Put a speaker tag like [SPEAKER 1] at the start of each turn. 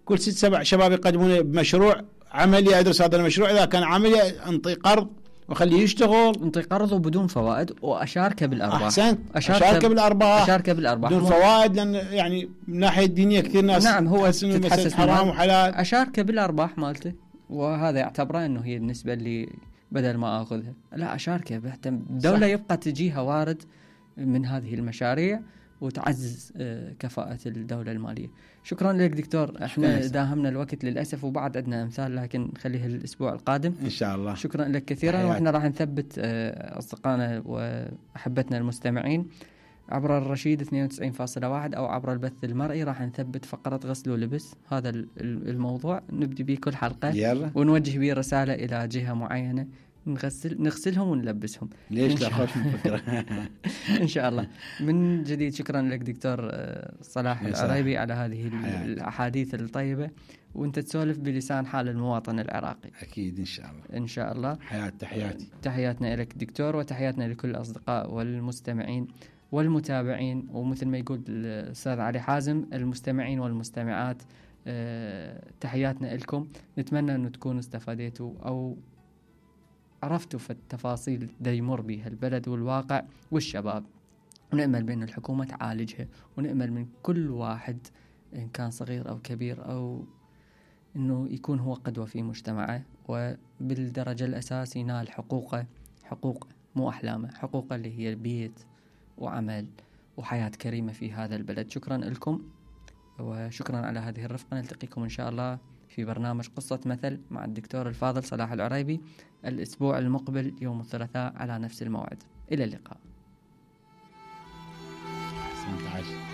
[SPEAKER 1] كل 6-7 شباب يقدمون بمشروع عملي، ادرس هذا المشروع، اذا كان عملي انطي قرض وخليه يشتغل،
[SPEAKER 2] انطي قرض وبدون فوائد واشاركه بالارباح.
[SPEAKER 1] احسنت، اشاركه بالارباح بدون فوائد، لان يعني من ناحيه الدينيه كثير ناس
[SPEAKER 2] نعم هو
[SPEAKER 1] تتحسس حرام وحلال.
[SPEAKER 2] اشاركه بالارباح مالته، وهذا يعتبره انه هي النسبه اللي بدل ما اخذها لا اشاركه بحتى الدوله يبقى تجيها وارد من هذه المشاريع وتعزز كفاءة الدولة المالية. شكرا لك دكتور، احنا داهمنا الوقت للأسف وبعد عندنا أمثال لكن خليها الأسبوع القادم
[SPEAKER 1] إن شاء الله.
[SPEAKER 2] شكرا لك كثيرا، واحنا راح نثبت أصدقائنا وأحبتنا المستمعين عبر الرشيد 92.1 أو عبر البث المرئي، راح نثبت فقرة غسل ولبس. هذا الموضوع نبدي به كل حلقة
[SPEAKER 1] يلا.
[SPEAKER 2] ونوجه به رسالة إلى جهة معينة، نغسلهم ونلبسهم.
[SPEAKER 1] ليش لا خوش من فكرة.
[SPEAKER 2] إن شاء الله. من جديد شكرا لك دكتور صلاح العريبي على هذه الأحاديث الطيبة، وانت تسولف بلسان حال المواطن العراقي.
[SPEAKER 1] أكيد إن شاء الله.
[SPEAKER 2] إن شاء الله.
[SPEAKER 1] تحياتي.
[SPEAKER 2] تحياتنا لك دكتور، وتحياتنا لكل الأصدقاء والمستمعين والمتابعين، ومثل ما يقول الأستاذ علي حازم المستمعين والمستمعات، تحياتنا لكم. نتمنى أن تكونوا استفادتوا أو عرفتوا في التفاصيل دا يمر بها البلد والواقع والشباب، ونأمل بأن الحكومة تعالجها، ونأمل من كل واحد إن كان صغير أو كبير أو أنه يكون هو قدوة في مجتمعه، وبالدرجة الأساس ينال حقوقه، حقوق مو أحلامه، حقوقه اللي هي البيت وعمل وحياة كريمة في هذا البلد. شكرا لكم وشكرا على هذه الرفقة. نلتقيكم إن شاء الله في برنامج قصة مثل مع الدكتور الفاضل صلاح العريبي الأسبوع المقبل يوم الثلاثاء على نفس الموعد. إلى اللقاء.
[SPEAKER 1] أحسنت عاش.